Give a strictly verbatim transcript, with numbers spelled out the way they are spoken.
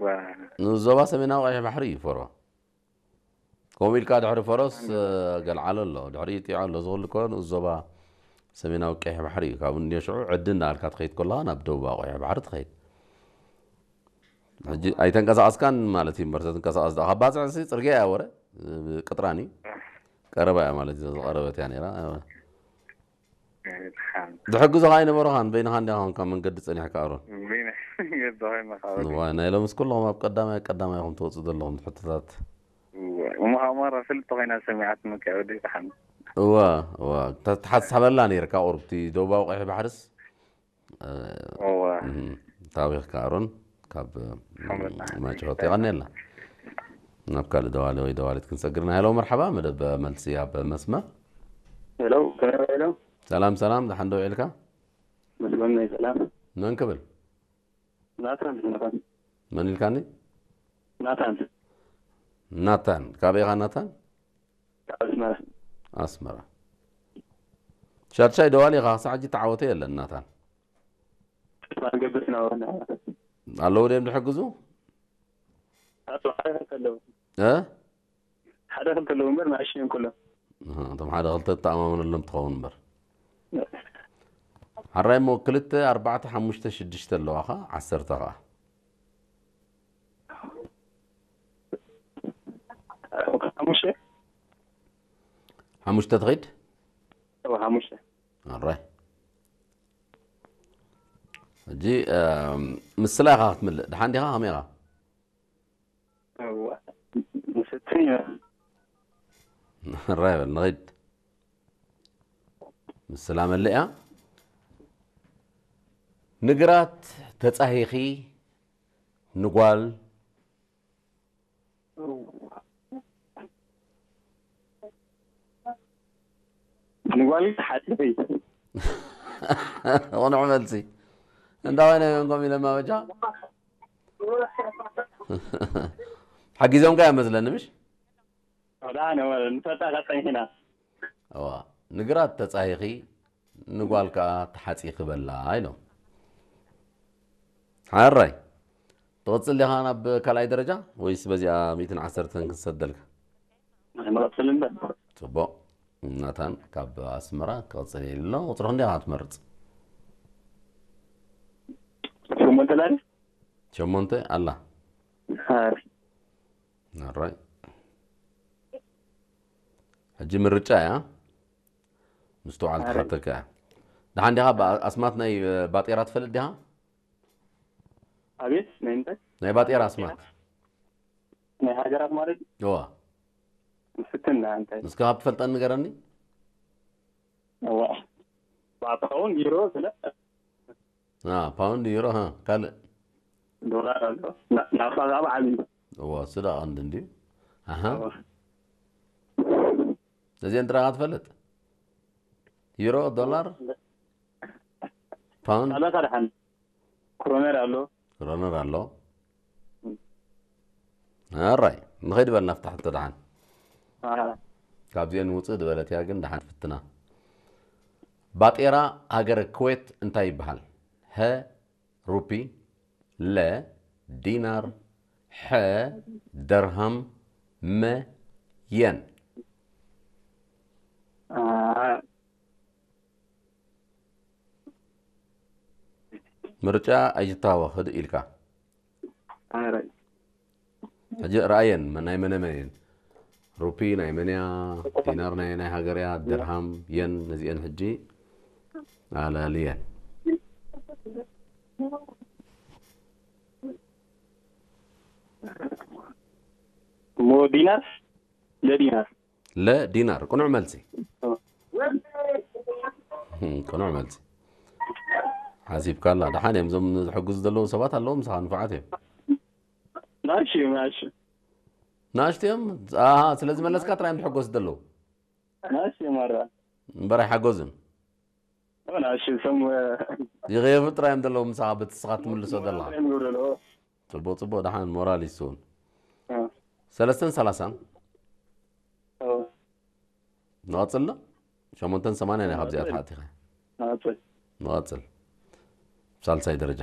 ወ-፣ ንኡስ ዞባ ሰሜናዊ ቀይሕ ባሕሪ እዩ ፈሮ። ከምኡ ኢልካ ድሕሪ ፈረስ፣ እ፣ ገልዓሎ ኣሎ፣ ድሕሪ ኢጢዖ ኣሎ። ዝኹሉ እኮ ንኡስ ዞባ ሰሜናዊ ቀይሕ ባሕሪ እዩ። ካብ እንድዮ ሽዑ ዕዲ እናበልካ ትኸይድ ከለኻ ናብ ደቡባዊ ቀይሕ ባሕሪ ትኸይድ። ሕጂ ኣይተንቀሳቐስካን ማለት እዩ እምበር፣ ተትንቀሳቐስ ደኣ ካብ ባጽዕ ሲ ጽርግያ እያ ወረ፣ እ፣ ቅጥራን እዩ። ቀረባ እያ ማለት እዩ፣ ዝቐረበት እያ ነይራ። ድሓን። ዝሕግዙኻ ኣይነበሩኻን፣ በይንኻ እንዲኻ ኾንካ መንገዲ ጸኒሕካ ኣሮን። በይነ መንገዲ ኾይነ ካብ ንዋይ፣ ናይ ሎምስ ኩልኹም ኣብ ቀዳማይ ቀዳማይ ኢኹም ትወጽኡ ዘለኹም ሕቶታት። እወ፣ እሞ ሃማራ ፍልጥ ኮይና ሰሚዓት ምክያ ወዲ ድሓን። እወ፣ እወ፣ ተ-፣ ተሓሳበላ ነይርካ ቁሩብ፣ እቲ ደቡባዊ ቀይሕ ባሕርስ፣ እ፣ እወ። እም፣ ታዊኽካ ኣሮን፣ ካብ፣ ሓመድ። ማጭሆት የቐኔልና። ናብ ካልእ ደዋሊ ወይ ደዋሊት ክንሰግር ኢና። ሄሎ መርሓባ፣ መደብ መልሲ ኣብ መስመር። ሄሎ፣ ሄሎ። ሰላም፣ ሰላም፣ ደሓን ዶ ውዒልካ? መስመር ናይ ሰላም። መን ክብል? ናታን፣ ናታን። መን ኢልካኒ? ናታን። ናታን፣ ካበይ ኢኻ ናታን? ካብ ኣስመራ። ኣስመራ። ሻድሻይ ደዋሊ ኢኻ፣ ክሳዕ ሕጂ ተዓወተ የለን ናታን። ተስፋ ንገብር ኢና ወና። ኣለዉ ድዮም ዝሕግዙ? ኣቶ ሓደ ክልተ ኣለዉ። እ? ሓደ ክልተ ኣለዉ እምበር ንኣሽቱ እዮም ኩሎም። እህ፣ እቶም ሓደ ክልተ ትተኣማመነሎም ትኸውን እምበር። ሕራይ እሞ ክልተ፣ ኣርባዕተ፣ ሓሙሽተ፣ ሽዱሽተ ኣለዋኻ፣ ዓሰርተ ኸኣ። ሓሙሽተ? ሓሙሽተ ትኸይድ? እወ፣ ሓሙሽተ። ኣራይ። ሕጂ፣ እም፣ ምስላ ኢኻ ክትምልእ። ደሓን ዲኻ? ከመይ ኢኻ? እወ፣ ምስቲ ኣራይ በል፣ ንኺድ። ምስላ መልእያ። ንግራት ተጻሂኺ ንጓል ንጓል ሓጽበይ። ቅኑዕ መልሲ። እንዳ ወይነ መንጎም ኢለማ በጃ። ሓጊዞምካ እዮም መስለኒ፣ ምሽ? ወዳ ነወ ንፈጣ ቀጠኝ ሒና። እዋ፣ ንግራት ተጻሂኺ ንጓል ከኣ ተሓጺኺ በላ ኢሎም። ሓራይ፣ ትቕጽል ዲኻ ናብ ካልኣይ ደረጃ ወይስ በዚኣ ሚእትን ዓሰርተን ክንሰደልካ? ንቐጽል እምበር። ጽቡቕ። ናታን ካብ ኣስመራ ክቕጽል ኢሉ ኣሎ። ቁጽሪ ክንደይ ኢኻ ትመርጽ? ሸሞንተ ላለ? ሸሞንተ ኣላ። ኣረ። ኣራይ። ሕጂ ምርጫ እያ። ምስትውዓል ኣረ። ትሓተካ እያ። ደሓን ዲኻ? ባ-፣ ኣስማት ናይ ባጤራ ትፈልጥ ዲኻ? ኣቤት፣ ናይ እንታይ? ናይ ባጤራ ኣስማት። ናይ ሃገራት ማለት? እዋ። ምስክና እንታይ? እስከ ካብ ትፈልጠን ንገረኒ። እዋ። ባትኸውን ዩሮ ስለ አ፣ ፓውንድ፣ ዩሮ፣ ሀ፣ ካልእ? ዶላር ኣሎ። ና-፣ ናብታ ከኣ ብዓቢ። እዋ፣ እሱ ደኣ ቀንዲ እንድዩ። ኣሃ። እዋ። እዚአን ጥራይ ኢኻ ትፈልጥ? ዩሮ፣ ዶላር፣ ፓውንድ? ካልኦት ኣድሓን። ክሮነር ኣሎ። ክሮነር ኣሎ። ኣራይ፣ ንኸይድ በል ናብታ ሕቶ ደሓን። ኣሃ። ካብዚአን ውጽእ ዝበለት እያ፣ ግን ደሓን ፍትና። ባጤራ ሃገረ ኩዌት እንታይ ይበሃል? ሀ፣ ሩፒ፣ ለ፣ ዲናር፣ ሐ፣ ደርሃም፣ መ፣ የን። አ፣ ምርጫ ኣይትታወኽ፣ ህድእ ኢልካ። ኣረ። ሕጂ ረኣየን፣ መ-፣ ናይ መነ መን እየን? ሩፒ ናይ መን እያ? ዲናር ናይ፣ ናይ ሃገር እያ? ደርሃም፣ የን፣ ነዚአን ሕጂ ኣላልየን። እሞ ዲናር? ለዲናር። ለዲናር። ቅኑዕ መልሲ። ኦ። እም፣ ቅኑዕ መልሲ። ሓሲብካላ። ደሓን እዮም። እዞም ዝሕግዙ ዘለዉ ሰባት ኣለዉ ምሳኻ፣ ንፉዓት እዮም። ናእሽቱ እዮም፣ ናእሽቱ። ናእሽቱ እዮም? ኣሃ፣ ስለዚ መለስካ ጥራይ እዮም ዝሕገዙ ዘለዉ። ናእሽቱ እዮም፣ ኣረ። እምበር ኣይሓገዙን። ናእሽቱ እቶም፣ ይቕየፉ ጥራይ እዮም ዘለዉ ምሳኻ፣ በቲ ንስኻ ትምልሶ ዘለኻ። እዮም ዝብሉ ዘለዉ። ጽቡቕ፣ ጽቡቕ፣ ደሓን ሞራል ይስውን። እ። ሰለስተን ሰላሳን። ኦ። ንቐጽል ዶ? ሸሞንተን ሰማንያን እያ ካብዚኣ ንቐጽል። ተሓቲኻ። ንቐጽል። ንቐጽል። ሳልሳይ ደረጃ።